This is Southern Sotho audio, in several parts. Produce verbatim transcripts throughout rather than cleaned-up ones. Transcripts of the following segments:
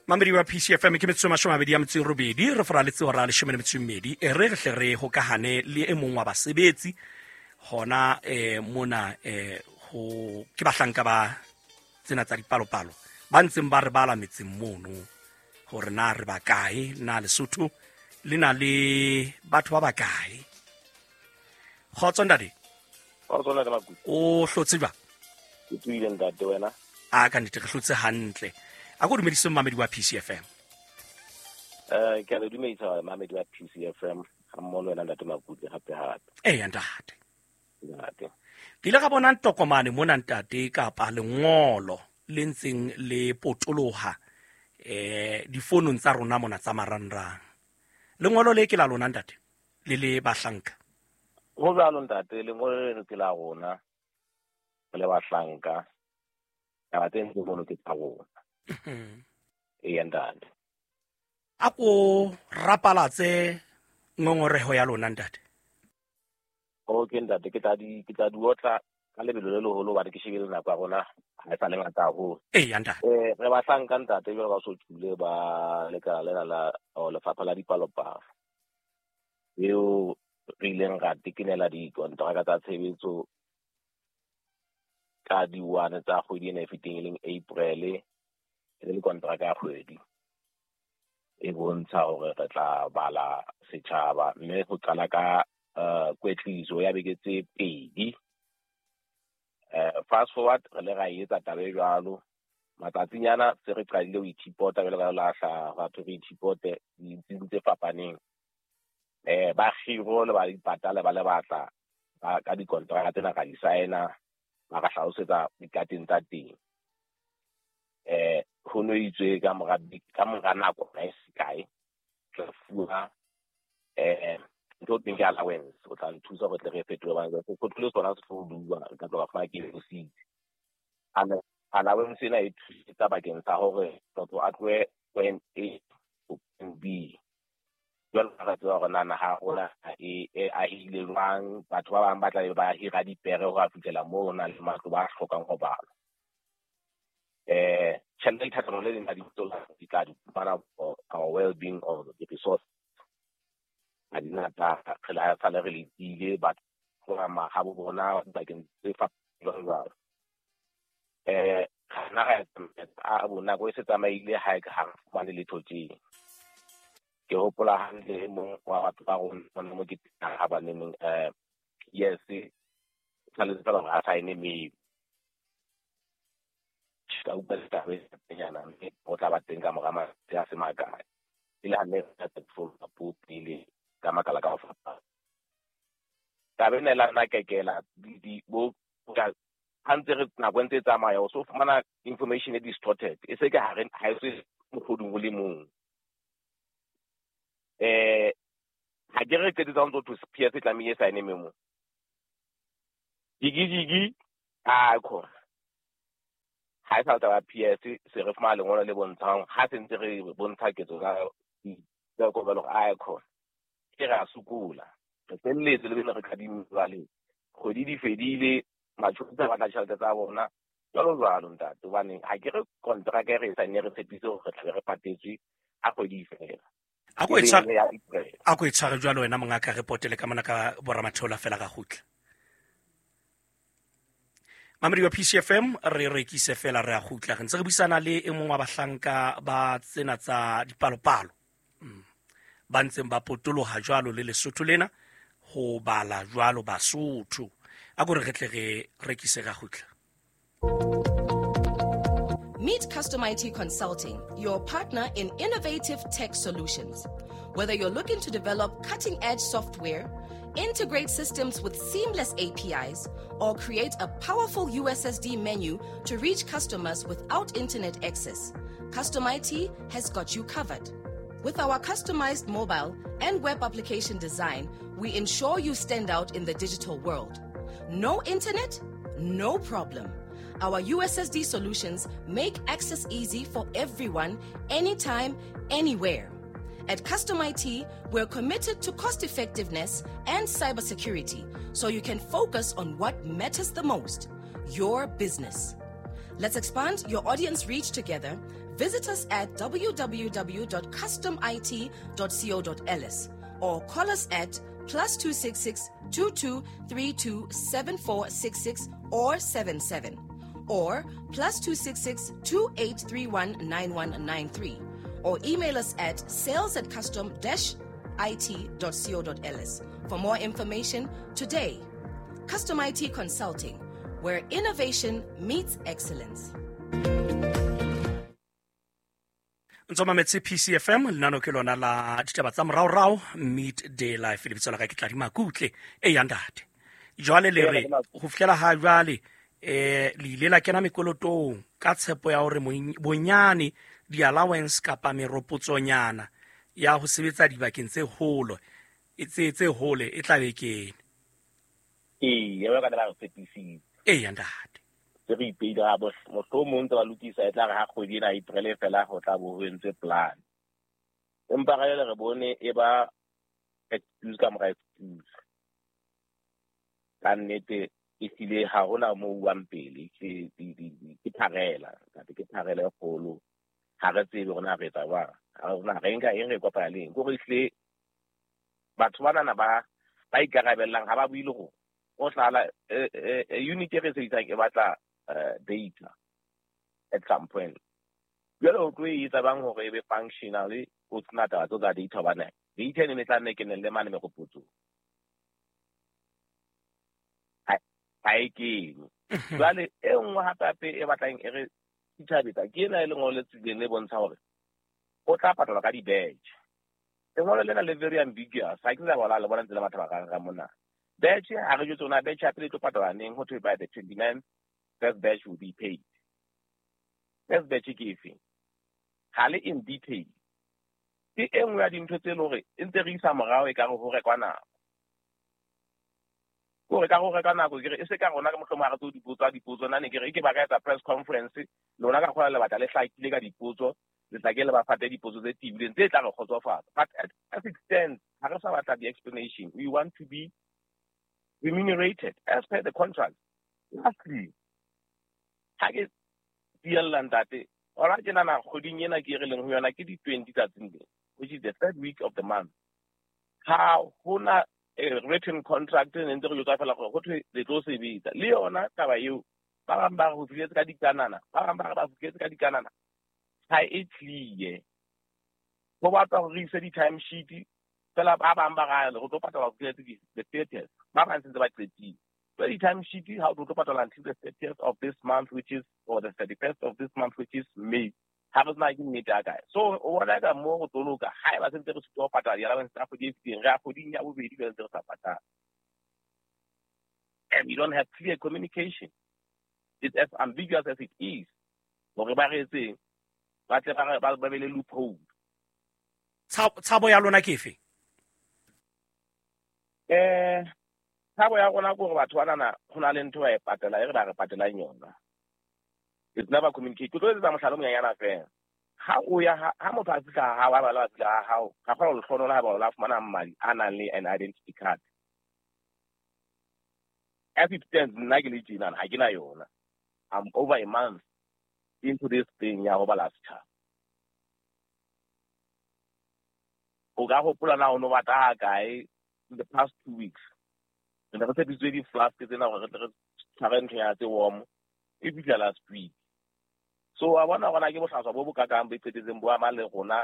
Mamedi wa P C F M ke metsotso e mashome a mabedi a metso e robedi re foraletse hora leshome le metso e mmedi e re re hle re hokahane le e mong wa basebetsi hona eh mona eh ho ke bahlanka ba tsena tsa dipalopalo ba ntseng ba re bala metseng mono hore na re ba kae na Lesotho le na le batho ba bakae. Kgotso ntate. Kgotso ntate Makuti. O hlotse jwang? Ke tswile ntate wena. A ka nnete re hlotse hantle. A ko dumedise mamedi wa P C F M. Eh ke a le dumedisa mamedi wa P C F M ha mmoho le wena ntate Makuti hape hape. Eh ntate. Ntate. Ke ile ka bona ntokomane mona ntate kapa lengolo le ntseng le potoloha eh difonong tsa rona mona tsa marangrang. Lengolo le ke la lona ntate le le bahlanka. Ho jwalo ntate, lengolo leno ke la rona le bahlanka. Taba tse ntse mono ke tsa rona. Ee ntate. A ko rapalatse ngongoreho ya lona ntate. Okay ntate, ke tla di ke tla di otla ka lebelo le leholo hobane ke shebile nako ya rona ha e sa le ngata haholo. Ee ntate. Eh re bahlanka ntate jwalo ka so tshule ba lekala lena la lefapha la dipalopalo. Eo re ileng ra tekenela dikonteraka tsa tshebetso ka di-one tsa kgwedi ena e fetileng e leng April, e le kontraka ya kgwedi e bontsha hore re tla bala setjhaba mme ho qala ka uh, kwetliso ya beke tse pedi. Uh, fast forward re le ra etsa taba e jwalo matsatsinyana se re qadile ho ithipota jwalo ka lahla batho re ithipote ditsing tse fapaneng. Eh ba kgiro le ba dipatala ba le batla ba ka dikontraka tsena ka di signa ba ka hlalosetsa dikateng tsa teng. Eh ho no itswe ka mora ka mora nako e se kae tla fuwa eh ntho teng ke allowance o tla nthusa hore tle re fetole ba go tlole sona se tlo bua ka tloga fa ke go sitse. Allowance ena e thusetsa bakeng sa hore motho a tlohe point A to point B. Jwalo ka re tseba hore na naha ya rona e e ahile jwang, batho ba bang ba tla be ba hira dipere ho a fihlela moo ho nang le matlo ba hlokang ho balwa. Eh tjhelete dithatano le leng la dibitso di tla di fumana for our well-being of the resource. Ha di ngata re la sale re letile batho ba mahabo bona bakeng tse fapaneng jwalo jwalo. Eh nna ra a bo nako e se tsamaile ha e ka ha re fumane letho tje. Ke hopola hantle e mong wa batho ba rona mona mo ke ha ba neneng eh yes tshwanetse fela hore a sign mail. Ka utlwa ditaba e nyana mme o tla ba teng ka mora matsatsi a se makae. E le ha ne re tla follow up pele ka makala ka ho fapana. Taba ena e la nna kekela di bo ka ha ntse re nako e ntse e tsamaya o so fumana information e distorted e se ke ha re ha e se mohloding o le mong. Eh ha ke re qetetse ho ntso thwe P S e tlamehile e sign memo. Jigi jigi a khona. Ha e sa taba P S se re fumana lengolo le bontshang ha se ntse re bontsha ketso ka tsa ko ba a khona. Ke re a sokola. Re felletse le bene re kadime jwale. Kgwedi di fedile matjhonisa ba batla tjhelete tsa bona jwalo jwalo ntate hobane ha ke re kontraka e re e sign re tshepise hore re tlabe re patetswe ha kgwedi e fela. A ko e tshware a ko e tshware jwalo wena mongaka re potele ka mona ka boramatheola fela ka kgutla. Mamedi wa P C F M re rekise fela re a kgutla re ntse re buisana le e mong wa bahlanka ba tsena tsa dipalopalo. Mm. Ba ntseng ba potoloha jwalo le Lesotho lena ho bala jwalo Basotho. A ko re re tle re rekise ra kgutla. Meet Custom I T Consulting, your partner in innovative tech solutions. Whether you're looking to develop cutting-edge software, integrate systems with seamless A P Is, or create a powerful U S S D menu to reach customers without internet access, Custom I T has got you covered. With our customized mobile and web application design, we ensure you stand out in the digital world. No internet? No problem. Our U S S D solutions make access easy for everyone, anytime, anywhere. At Custom I T, we're committed to cost effectiveness and cybersecurity, so you can focus on what matters the most, your business. Let's expand your audience reach together. Visit us at w w w dot custom i t dot co dot l s or call us at plus two six six, two two three two seven four six six or seven seven or plus two six six, two eight three one nine one nine three or email us at sales at custom dash I T dot co dot l s for more information today. Custom I T Consulting, where innovation meets excellence. Ntse mametse P C F M, lenaneo ke lona la ditaba tsa moraorao, Midday Life, lebitso la ka ke Tladi Makutle, e ya ntate. Jwale le re, ho fihlela ha jwale, eh, le ile la kena mekolotong ka tshepo ya hore bonyane di-allowance kapa meropotsonyana ya ho sebetsa dibakeng tse holo, tse, tse hole e tla be kene. Ee, ya ba ka ba re tshepisitse. E ya ntate. Se re ipeile ha bo mohlomong ntse ba lokisa e tla re ha kgwedi ena April fela ho tla bo ho entswe plan. Empa re le re bone e ba excuse ka mora excuse. Ka nnete e hlile ha hona moo uwang pele, ke, ke, ke, ke pharela, ntate, ke pharela e kgolo. Ha re tsebe hore na re etsa jwang. Ha re na re nka eng re kopana le eng. Ke hore ehlile batho banana ba, ba ikarabellang ha ba bue le rona. O hlala, eh, eh, eh, unit e re sebedisang e batla, eh, data at some point. Jwale o tlo e etsa bang hore e be functional, o sena taba tseo tsa data hobane data e ne tla nne e kenelle mane meropotsong. Ha, ha e kene. Jwale e nngwe hape hape e batlang e re sithabetsa ke ena e lengolo le tswileng le bontsha hore o tla patalwa ka di-badge. Lengolo lena le very ambiguous. Ha ke sa bona le bona ntse le batho ba ka mona. Batch, ha re jwetse hore na batch ya pele e tlo patalwa neng, ho thwe by the twenty-ninth, first batch will be paid. First batch ke efe? Ha le in detail. Ke e nngwe ya dintho tse leng hore e ntse re isa morao e ka re ho rekwa nako. Ke hore ka ho rekwa nako, ke re e se ka rona ka mohlomong ha re tlo dipotso, ha dipotso, nna ne ke re e ke ba ka etsa press conference, lona ka kgola le batla le hlakile ka dipotso, le tla ke le ba fate dipotso tse tebileng tse tla re kgotsofatsa. But as, as it stands, ha re sa batla di-explanation. We want to be remunerated as per the contract. Lastly, ha ke tiella ntate, hona tjena na kgweding ena ke re leng ho yona ke di twenty tsatsing le, which is the third week of the month. Ha hona a written contract e ntse re jwetsa fela gore ho thwe le tlo sebetsa. Le yona taba eo, ba bang ba re ho fihletse ka dikanana, ba bang ba re ba fihletse ka dikanana. Ha e clear. Ho batla hore re ise di-time sheet, fela ba bang ba re re tlo patala ho fihletse di-, the thirtieth. Ba bang sentse ba qetile. So the time sheet, how to patala until the thirtieth of this month, which is, or the thirty-first of this month, which is May. Ha re sena ke nnete ya kae. So, o bona ka moo go tlo loka, ha eba sentse re sitwa ho patala di-allowance tsa kgwedi e fetileng, re ya kgweding ya bobedi jwale ntse re sa patala. And we don't have clear communication. It's as ambiguous as it is. Hore ba re etseng, ba tle ba re, ba, ba be le loophole. Tshabo, tshabo ya lona ke efe? Eh, tshabo ya rona ke hore batho banana ho na le ntho ba e patela, e re ba re patelang yona. It's never communicated. Ke tlo etsetsa mohlala o monyenyana fela. Ha o ya ha, ha motho a fihla ha hao, ha ba le ba fihla ha hao, ga kgona ho le hlonola ha ba o la fumana madi a nang le an identity card. As it stands, nna ke le tjena, ha ke na yona. I'm over a month into this thing ya ho bala setjhaba. O ka hopola na o no batla ha kae in the past two weeks. Re ne re tshepisitswe di-flask tsena hore re tle re tshware ntho ya tse warm, e fihla last week. So wa bona hore na ke bohlaswa bo bokakang bo iqetetseng bo ama le rona,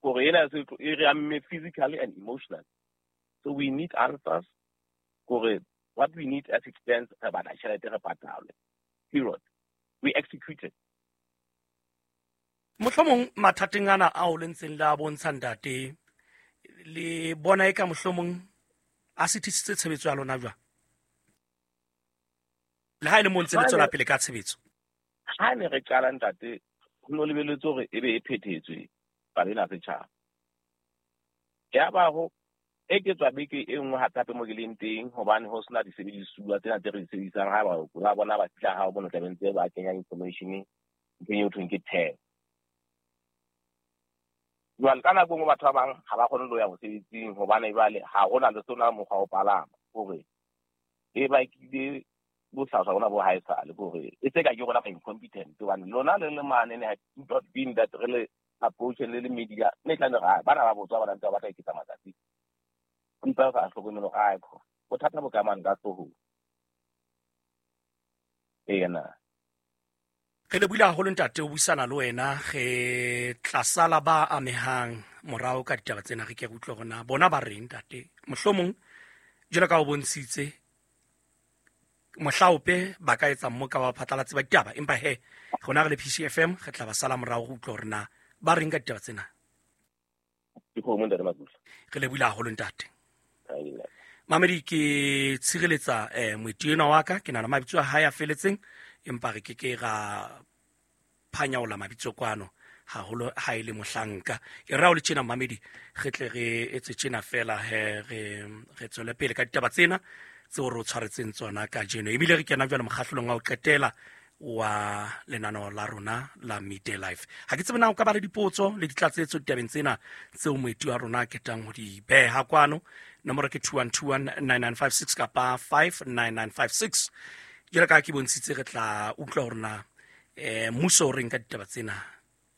hore ena e se e re amme physically and emotionally. So we need answers. Hore what we need as it stands, re batla tjhelete re patalwe. Period. We executed. Mohlomong mathateng ana ao le ntseng le a bontsha ntate, le bona eka mohlomong a sitisitse tshebetso ya lona jwang? Le ha e le mo ntse le tswela pele ka tshebetso. Ha ne re qala ntate, ho no lebelletswe hore e be e phethetswe palo ena setjhaba. Ya ba ho eketswa beke e nngwe hape hape mo ke leng teng, hobane ho sena disebedisuwa tsena tse re di sebedisang. Ha ba ba bona ba fihla ha o bona tla ntse ba kenya information nthong eo thweng ke tag. Jwale ka nako e nngwe batho ba bang ha ba kgone le ho ya mosebetsing hobane jwale ha hona le sona mokgwa wa ho palama, hore e bakile bohlaswa bona bo haesale ke hore e se ka ke rona ba incompetent hobane lona le le mane ne not been that re le approach le le media ne tla re bana ba botswa bana ntse ba batla iketsa matsatsi empa ba hlokomelo ga ko bothata bo ka mang ka hloohong ena. Re lebohile haholo ntate o buisana le wena, re tla sala ba amehang morao ka ditaba tsena, re ke re utlwe hore na bona ba reng ntate. Mohlomong jwalo ka o bontshitse mohlaope ba ka etsa mmoka wa phatlalatsi ba ditaba, empa he rona re le P C F M re tla ba sala morao re utlwe hore na ba reng ka ditaba tsena. Re lebohile haholo ntate. Mamedi ke tshireletsa eh moeti enwa wa ka, ke nahana mabitso a hae a feletseng, empa re ke ke ra phanyaola mabitso kwano haholo ha e le mohlanka. E ra o le tjena mamedi, re tle re etse tjena fela he re re tswele pele ka ditaba tsena tseo re o tshwaretseng tsona kajeno. Ebile re kena jwale mokgahlelong wa ho qetela wa lenaneo la rona la Midday Life. Ha ke tsebe na o ka ba le dipotso le ditlatsetso ditabeng tsena tseo moeti wa rona a ketang ho di beha kwano. Nomoro ke two one two one nine nine five six kapa five nine nine five six. Jwalo ka ha ke bontshitse re tla utlwa hore na eh mmuso o reng ka ditaba tsena,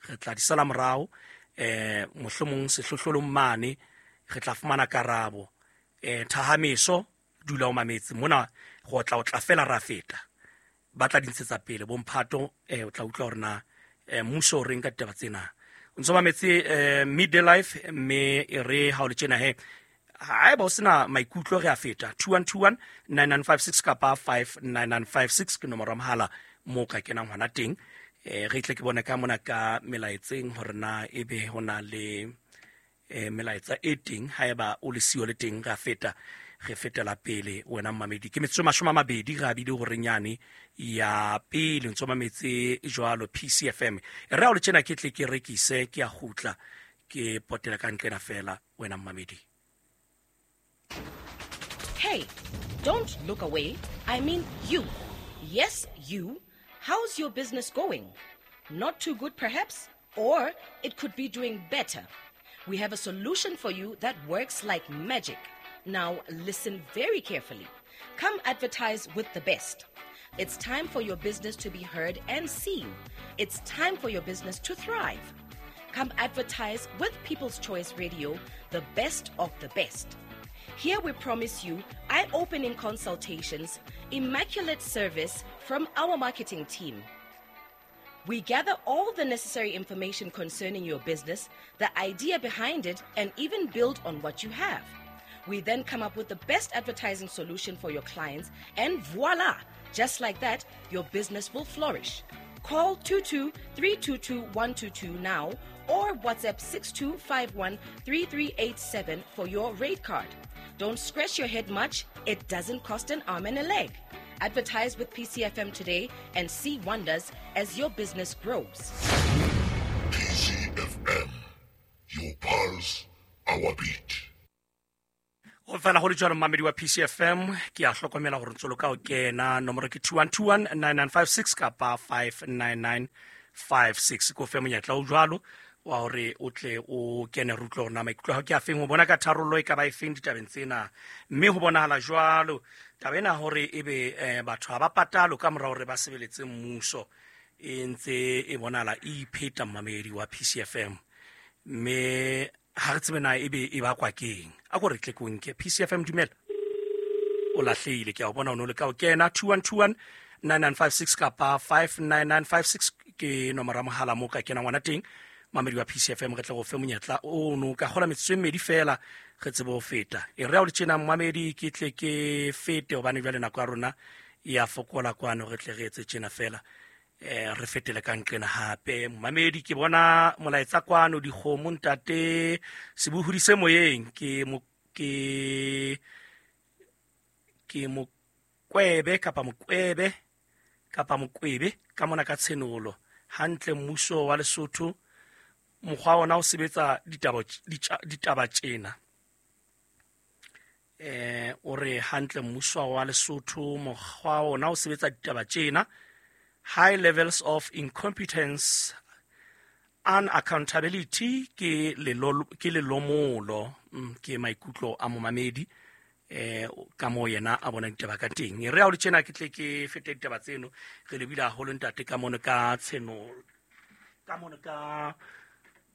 re tla di sala morao eh mohlomong sehlohlolong mane re tla fumana karabo. Eh thahameso dula o mametse mona, go tla o tla fela ra feta ba tla di ntshetsa pele bomphato. Eh o tla utlwa hore na mmuso o reng ka ditaba tsena. O ntso mametse eh Midday Life, mme e re ha o le tjena he haeba o sena maikutlo re a feta two one two one nine nine five six kapa five nine nine five six ke nomoro ya mohala moo ka kenang hona teng. Eh re tle ke bone ka mona ka melaetseng hore na ebe hona le eh melaetsa e teng. Haeba o le siyo le teng re a feta, re fetela pele wena mmamedi. Ke metsotso mashome a mabedi re abile hore nyane ya pele ntso mametse jwalo P C F M. E re ha o le tjena ke tle ke rekise, ke a kgutla ke potela ka nqena fela wena mmamedi. Hey, don't look away. I mean you. Yes, you. How's your business going? Not too good perhaps, or it could be doing better. We have a solution for you that works like magic. Now listen very carefully. Come advertise with the best. It's time for your business to be heard and seen. It's time for your business to thrive. Come advertise with People's Choice Radio, the best of the best. Here we promise you eye-opening consultations, immaculate service from our marketing team. We gather all the necessary information concerning your business, the idea behind it, and even build on what you have. We then come up with the best advertising solution for your clients, and voila! Just like that, your business will flourish. Call two two three two two one two two now or WhatsApp six two five one three three eight seven for your rate card. Don't scratch your head much. It doesn't cost an arm and a leg. Advertise with P C F M today and see wonders as your business grows. P C F M, your pulse, our beat. Ho fela ho le jwalo mmamedi wa P C F M, ke a hlokomela hore ntso loka o kena nomoro ke two one two one nine nine five six kapa five nine nine five six. Ko fe monyetla o jwalo wa hore o tle o kene re utlwe hore na maikutlo a hao ke a feng, ho bona ka tharollo e ka ba e feng ditabeng tsena. Mme ho bonahala jwalo taba ena hore ebe eh, batho ha ba patalo ka mora hore ba sebeletse mmuso e ntse e bonahala e ipheta mmamedi wa P C F M, mme ha re tsebe na ebe e bakwa keng. A ko re tle ko nke P C F M. Dumela, o lahlehile, ke a o bona o no le ka o kena two one two one nine nine five six kapa five nine nine five six ke nomoro ya mohala moo ka kenang ngwana teng. Mamedi wa P C F M, re tle go fe monyetla o no ka kgola metsotso e mmedi fela re tsebe ho feta. E re ha o le tjena mmamedi ke tle ke fete hobane jwale nako ya rona e a fokola kwano, re tle re etse tjena fela eh re fetele ka nqena hape. Mmamedi ke bona molaetsa kwano dikgomo ntate sebohodi se moyeng ke mo ke ke mokwebe kapa mokwebe kapa mokwebe ka mona ka tshenolo hantle mmuso wa Lesotho mokgwa ona o sebetsa ditaba ditaba tjena. Eh o re hantle mmuso wa Lesotho mokgwa ona o sebetsa ditaba tjena. High levels of incompetence, unaccountability ke lelolo ke lelomolo, ke maikutlo a momamedi. eh ka mo yena a bona ditaba ka teng. E re ha o le tjena ke tle ke fete ditaba tseno, re lebile haholo ntate ka mono ka tsheno ka mono ka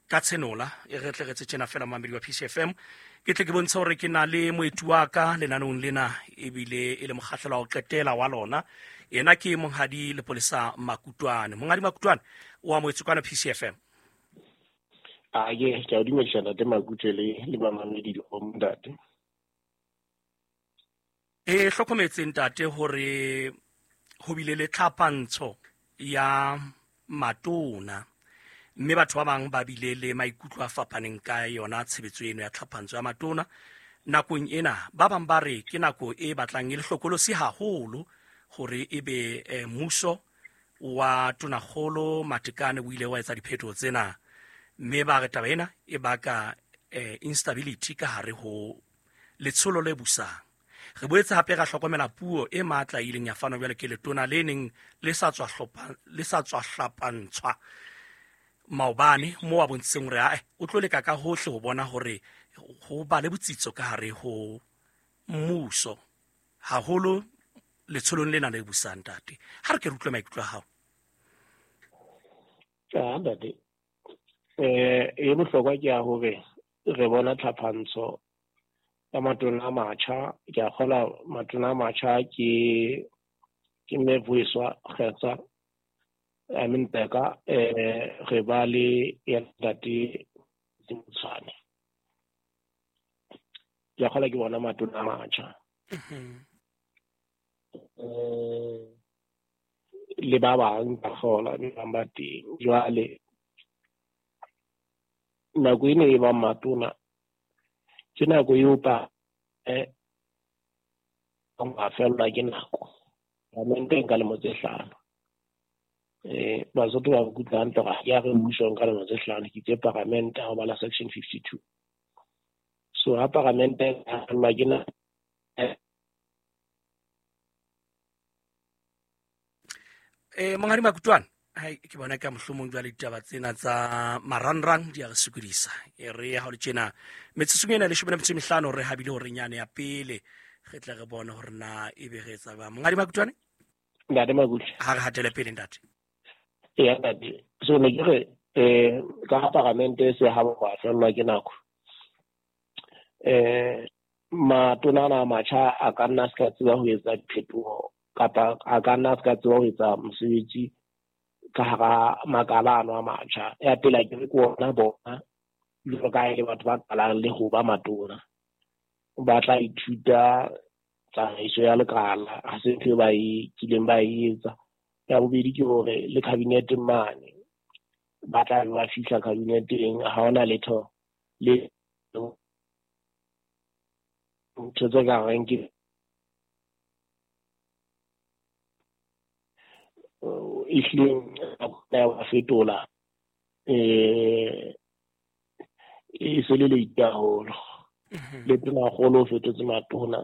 ka tshenola. E re tle re tse tjena fela mamedi wa P C F M, ke tle ke bontshe hore ke na le moeti wa ka lenaneong lena, ebile e le mokgahlelo wa ho qetela wa lona. Yena ke Monghadi Lepolesa Makutoane. Monghadi Makutoane, o amohetswe kwana P C F M. A ye, ke a o dumedisa ntate Makutle le le bamamedi le bo ntate. E hlokometse ntate hore ho bile le tlhapantsho ya matona, mme batho ba bang ba bile le maikutlo a fapaneng ka yona tshebetso eno ya tlhapantsho ya matona. Nakong ena ba bang ba re ke nako e batlang e le hlokolosi haholo hore ebe eh, mmuso wa Tonakgolo Matekane o ile wa etsa diphetoho tsena, mme ba re taba ena e baka eh, instability ka hare ho letsholo le busang. Re boetse hape ra hlokomela puo e matla e ileng ya fanwa jwale ke letona le neng le sa tswa hlopha le sa tswa hlapantshwa maobane, mo a bontshitseng hore ae o tlo leka ka hohle ho bona hore ho ba le botsitso ka hare ho mmuso, haholo letsholong lena le busang. Ntate, ha re ke re utlwe maikutlo a hao. Ja, ntate, eh e bohlokwa ke ya hore re bona tlhapantsho ya matona a matjha. Ke a kgola matona a matjha ke ke mme Vuyiswa Kgetsa, I mean Bheka, eh re ba le ya ntate Motshwane. Ke a kgola ke bona matona a matjha. Eh le ba bang ba kgola ba bang ba teng. Jwale nako ena e bang matona ke nako eo pa eh ba fellwa ke nako. Parlamente nka lemo tse hlano. Eh Basotho ba nkutlwa hantle hore ha ke a re mmuso nka lemo tse hlano, ke itse parlamente ha o bala section fifty-two. So ha parlamente e fellwa ke nako eh Monghadi Makutoane, hai ke bona ka mohlomong jwale ditaba tsena tsa marangrang di a re sokodisa. E re ha o le tjena metsotsong ena leshome le metso e mehlano re habile hore nyane ya pele re tle re bone hore na ebe re etsa jwang. Monghadi Makutoane, ntate Makutle, ha re hatele pele ntate. Eya ntate, so ne ke re eh ka parlamente se ha ba fellwa ke nako. Eh matona ana a matjha a ka nna a se ka tseba ho etsa diphetoho kapa a ka nna a se ka tseba ho etsa mosebetsi ka hara makala ano a matjha. Ya pele a ke re ke ona bona jwalo ka ha e le batho ba qalang le ho ba matona, ba tla ithuta tsamaiso ya lekala, ha se ntho e ba e kileng ba e etsa. Ya bobedi ke hore le cabinet mane ba tla be ba fihla cabineteng, ha hona letho le ntho tse ka reng ke ehlileng ya ba fetola eh e se le late haholo. Le tonakgolo o fetotse matona.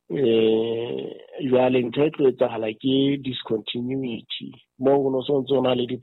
Eh jwale ntho e tlo etsahala ke discontinuity moo ho no so ntso na le